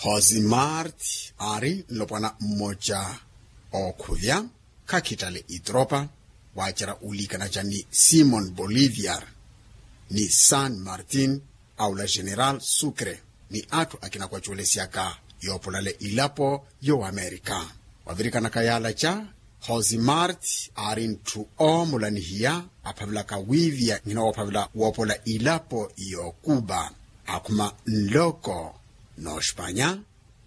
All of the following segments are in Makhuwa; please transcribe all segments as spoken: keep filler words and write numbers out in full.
Jose marti aari nlopwana mmoca ookhuvya khakhittale itropa, waacerya uliikanaca ni simon boliviar ni san martin, aula general sucre ni atthu akina kwacuwelesyaka yoopolale ilapo yo amerika. Wavirikanaka yaalaca, jose marti aari ntthu oomulanihiya aphavelaka wiiviya nhina woophavela woopola ilapo yo cuba, akhuma nloko n'ospanya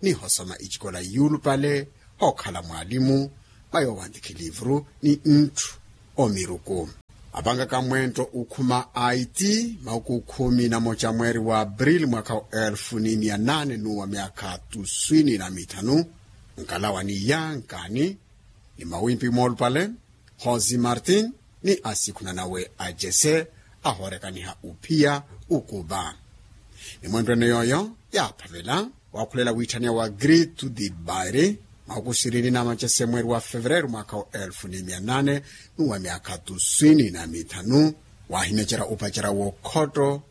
ni hosoma icikola yuulupale, hookhala mwaalimu, mwa yoowantikhi liivuru ni ntthu omiruku. Apankaka mwentto ukhuma aiti mahuku khumi na moca mweeri wa aprili mwakha wa elfu ni mia nane n'uwa myakha tuswini na mithanu, nkalawa ni yankaani ni mawimpi moolupale, jose martin ni asikhunanawe a jese ahoorekaniha uphiya ukupa. Ni mwentto ene yooyo yaaphavela waakhulela wiitthaneya wa grito di bairi mahuku sirini na macese mweeri wa fevereru mwakha wa elfu ni mia nane n'uwa myakha tuswini na mithanu, waahimecerya upacerya w'okhotto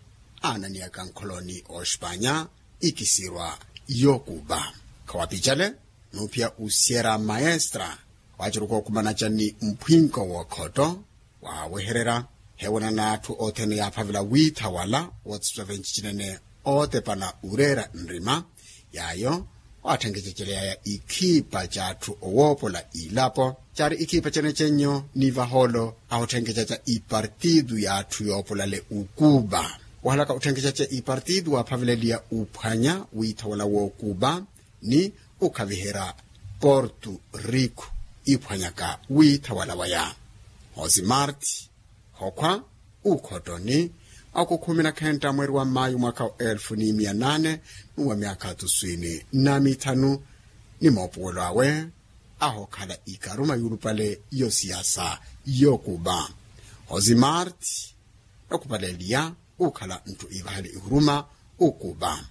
aananiyaka nkholoni ospanya ikisirwa y'okupa. Khawapicale n'uphiya usiyera maestra, waaceruka okumanaca ni mphwinko w'okhotto waawehererya. Heewanana atthu othene yaaphavela wiitha wala wootsitwa venci cinene ootepana ureera nrima yaayo, waatthenkecaceleyaya ikhiipa c'atthu owoopola ilapo caari ikhiipa cenecenyo ni vahoolo ahotthenkecaca ipartitu y'atthu yoopolale ukupa. Wahalaka otthenkecaca ipartitu waaphaveleliya uphwanya wiitha wala w'okupa ni ukhaviherya portu riku iphwanyaka wiitha wala waya. Jose marti hokhwa ukhottoni akukhumi na khentta mweeri wa mayu mwakha wa elfu ni mia nane n'uwa myakha tuswini na mithanu, ni moopuwelo awe ahookhala ikaruma yuulupale y'osiyasa y'okupa. Jose marti okupaleliya ukhala ntthu iivahale ihuruma ukupa.